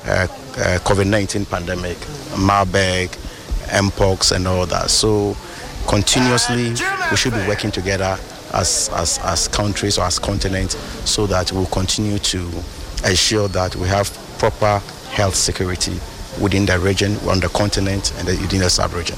COVID 19 pandemic, Marburg, Mpox, and all that. So, continuously, we should be working together as, as, as countries or as continents so that we'll continue to ensure that we have proper health security within the region, on the continent, and within the sub-region.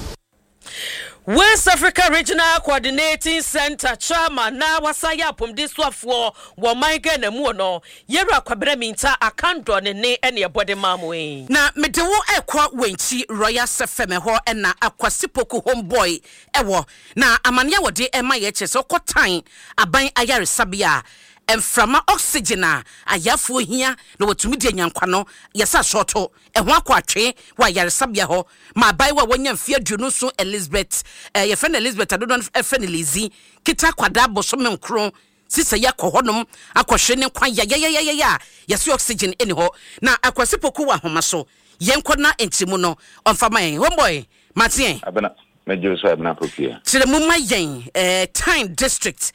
West Africa Regional Coordinating Centre Chairman na wasan yɛ apɔmuden soafoɔ wɔ ɔman Ghana mu no, Yɛwura Kwabena Mintah Akandoh ne ne ɛne ɛbɔ de maa mo yi. Na mede wo rekɔ Wenchi Royal Sefem hɔ na Akwasi Poku Homeboy wɔ. Na amaneɛ a wɔde rema yɛ kyerɛ sɛ wokɔ Tan aban ayaresabea a, mframa, oxygen, a ayarefoɔ hia na wɔatumi de anya nkwa no, yɛsɛ asɔɔto. Ɛho akɔ atwe wɔ ayaresabea hɔ ma abaayewa a wanya mfe 27 Elizabeth, eh, yɛfrɛ no Elizabeth a dodoɔ no frɛ no Lizzy, kita akwadaa bosome nkron sisa yi akɔ hɔnom akɔhwere ne nkwa yayayayaya a yɛse oxygen nni hɔ. Na Akwasi Poku wɔ ahoma so. Yɛnkɔ na nkyerɛmu no ɔmfa ma yɛn. Homeboy, mate ɛ? Abena, mɛgye wo so Abena Pokuya. Kyerɛ mu ma yɛn, eh, Tain District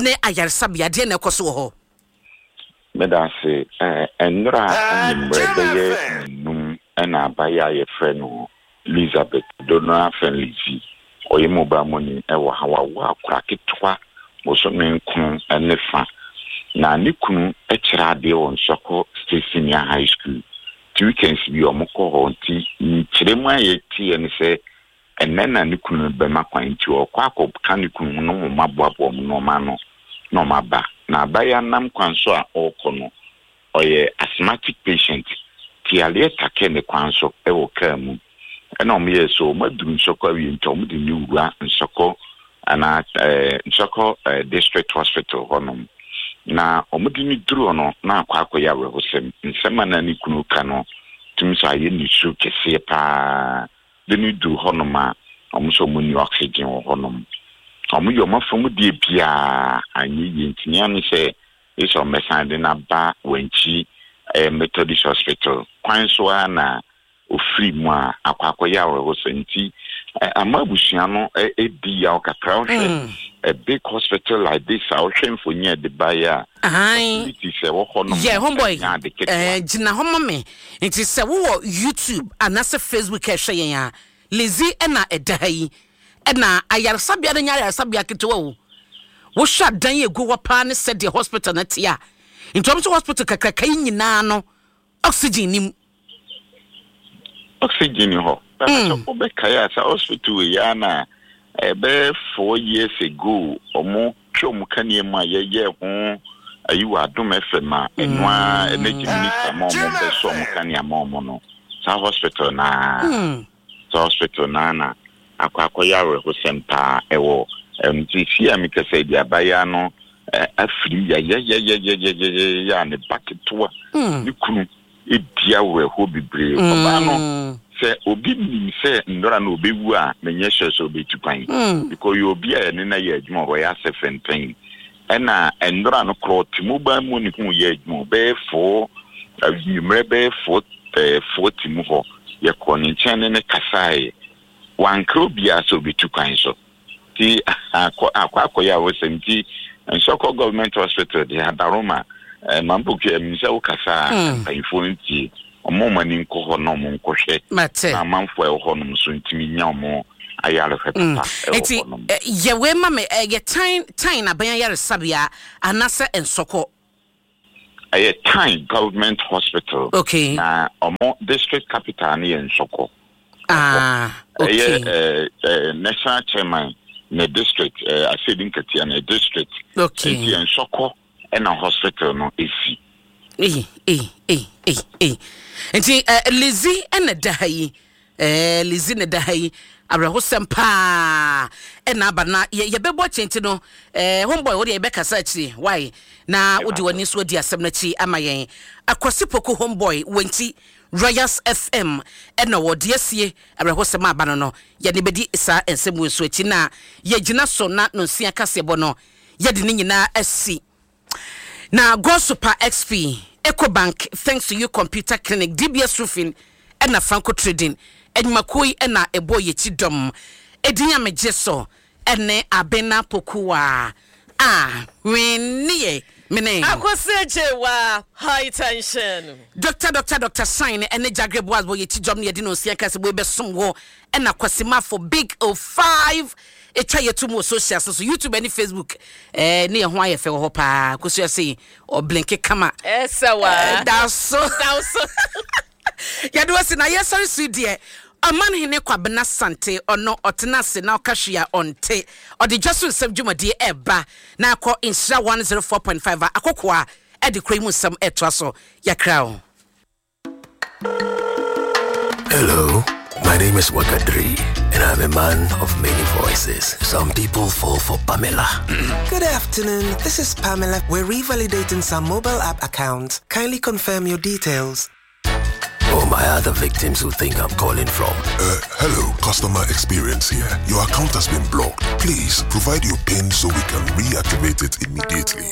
ne ayaresabea, deɛn na ɛkɔ so wɔ hɔ? Meda ase. Nnora anwummerɛ bɛyɛ nnum na abaayewa a yɛfrɛ no Lizabeth, dodoɔ no ara frɛ no Lizzy, ɔyɛ mobile money wɔ ha. Wawo akwadaa ketewa bosome nkron ne fa. Na ne kunu kyerɛ adeɛ wɔ Nsɔkɔ State Senior High School. Nti weekends bi wɔkɔ hɔ. Nti nkyerɛmu a yɛteɛ ne sɛ Ɛnnɛ na ne kunu bɛma kwan nti ɔrekɔ akɔka ne kunu ho na wɔaboaboa wɔn nneɛma ano na wɔaba. Na abaayewa no nam kwan so a ɔrekɔ no, ɔyɛ asthmatic patient nti yareɛ takee ne kwan so wɔ kaa mu. Ɛna wɔyɛɛ sɛ wɔaduru Nsɔkɔ awie nti wɔde no wura Nsɔkɔ anaa ɛɛ Nsɔkɔ District Hospital hɔnom. Na wɔde no duru hɔ no na akɔ akɔyɛ awerɛhosɛm. Nsɛm a na ne kunu reka no tumi sɛ ayɛ nisu kɛseɛ paa. De no duru hɔnom a, wɔn nso wɔn nni oxygen wɔ hɔnom. Wɔn yɛ wɔn afa mu deɛ biara anyɛ yie nti nea ne sɛ gye sɛ wɔbɛsan de no aba Wankyi ɛyɛ Methodist Hospital kwan so ara na ofiri mu a akɔ akɔyɛ awerɛhosɛm nti ama abusua no ɛdi yaw kakra. Wohwɛ a big hospital like this a wohwɛ mfonyin a ɛde baeɛ a facilities a ɛwɔ hɔnom Yeah, homeboy, ɛnyɛ ade ketewa. gyina hɔ ma me. Nti sɛ wowɔ YouTube anaasɛ Facebook rehwɛ yɛn a, Lizzy na ɛda ha yi. Ɛna ayaresabea no nyɛ ayaresabea ketewa o. Wohwɛ adan a ɛgu hɔ paa ne sɛdeɛ hospital no te a, nti wɔn nso hospital kakraka yi nyinaa no, oxygen nni mu. Oxygen ni hɔ. Sɛ wobɛkae a, saa hospital wei ara na ɛbɛyɛ 4 years ago ɔmo twa ɔmo kanea mu a yɛyɛ ho ayi wɔ Adom FM a ɛno ara energy minister ma ɔmo bɛsɔ ɔmo kanea ma ɔmo no, saa hospital naa saa hospital naa na akɔ akɔyɛ awerɛhosɛm paa ɛwɔ nti si a mekasa yi de abayewa no afiri yayayayayayaya a ne ba ketewa ne kunu di awerɛhoɔ bebree. Ɔbaa no, sɛ obi nim sɛ nnora no ɔbɛwu a, menyɛ sure sɛ ɔbɛtu kwan because ɔyɛ obi a yɛne no ayɛ adwuma wɔ Royal Serpentine. Ɛna nnora no korɔ ɔte mobile money ho yɛ adwuma bɛyɛ four anwummerɛ bɛyɛ 4:40 mu hɔ, yɛkɔɔ ne nkyɛn ne ne kasaeɛ. Wankra obiara sɛ ɔbɛtu kwan so. Nti akɔ akɔ akɔyɛ awosɛm nti Nsɔkɔ Government Hospital de Adaroma eh, Mampoku ɛmi sɛ wokasa a mpanyinfoɔ ntie ɔmo ɔmo ani nkɔ hɔ na ɔmo nkɔhwɛ Mate. Na amanfoɔ a ɛwɔ hɔnom nso ntumi nya ɔmo ayarehwɛ papa ɛwɔ Eti hɔnom. Yɛ wei ma me, ɛyɛ Tan Tan aban ayaresabea anaasɛ Nsɔkɔ? Ɛyɛ Tan Government Hospital. Na ɔmo district capital no yɛ Nsɔkɔ. Ɛyɛ ɛɛ national chairman ne district ɛɛ Asedi Nkatia ne district. Nti yɛ Nsɔkɔ ɛna hospital no esi. Ei ei ei ei ei. Nti Lizzy ɛna da ha yi. Ɛɛ Lizzy na ɛda ha yi. Awerɛhosɛm paa ɛna aba na yɛ yɛbɛbɔ akyi nti no ɛɛ homeboy wo deɛ yɛbɛkasa akyiri why na wode w'ani nso adi asɛm no akyi ama yɛn. Akwasi Poku homeboy Wɛnti Royals FM ɛna ɔwɔ deɛ asie awerɛhosɛm a aba no no yɛne bɛdi saa nsɛm wei nso akyi na yɛgyina so na nonsia kaseɛbɔ no yɛde ne nyinaa asi. Na Gosupa XP, Ecobank, Thanks to You Computer Clinic, DBS Roofing ɛna Franco Trading nnwumakuo yi na ɛbɔɔ yɛn akyi dɔm. Edin a megye so ne Abena Pokuaa a hwenneɛ. Mene. Akwasi Agyewaa, High Tension. Doctor Doctor Doctor Sign ɛne Jagre Boaz bɔ yɛti dwam ne yɛde no nsia ka sɛ wei bɛsom wɔ ɛna Kwasi Mafo Big O 5 ɛtwa yɛto mu wɔ socials no so YouTube ɛne Facebook ɛɛ ne yɛ ho ayɛ fɛ wɔ hɔ paa kosua sei ɔblinke kama Ɛsɛ wa. Da so. Da so. Yɛde wo asi na yɛsɔre so yi deɛ Ɔmanhene Kwabena Sante ɔno ɔtena ase na ɔka hwee a ɔnte ɔde dwa so nsɛm dwumadie ɛreba na akɔ Nhyira 104.5 a akokoa ɛde kuro yi mu nsɛm ɛretoa so yɛakra wo. Hello, my name is Wakadri, and I'm a man of many voices. Some people fall for Pamela. Good afternoon. This is Pamela. We're revalidating some mobile app accounts. Kindly confirm your details. Or my other victims who think I'm calling from. Uh, hello, customer experience here. Your account has been blocked. Please provide your PIN so we can reactivate it immediately.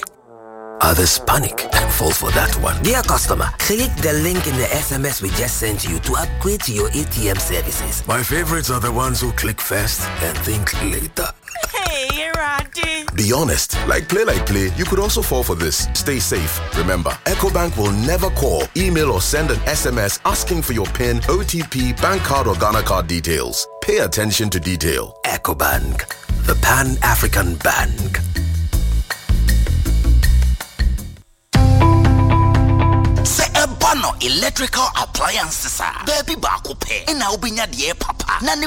Others panic and fall for that one. Dear customer, click the link in the SMS we just sent you to upgrade to your ATM services. My favorites are the ones who click first and think later. Hey, Randy. Be honest, like play like play, you could also fall for this. Stay safe. Remember, EcoBank will never call, email or send an SMS asking for your PIN, OTP, bank card or Ghana card details. Pay attention to detail. EcoBank, the Pan-African Bank. Sɛ ɛba no electrical appliances a, baabi baako pɛ ɛna wobɛnya deɛ papa na ne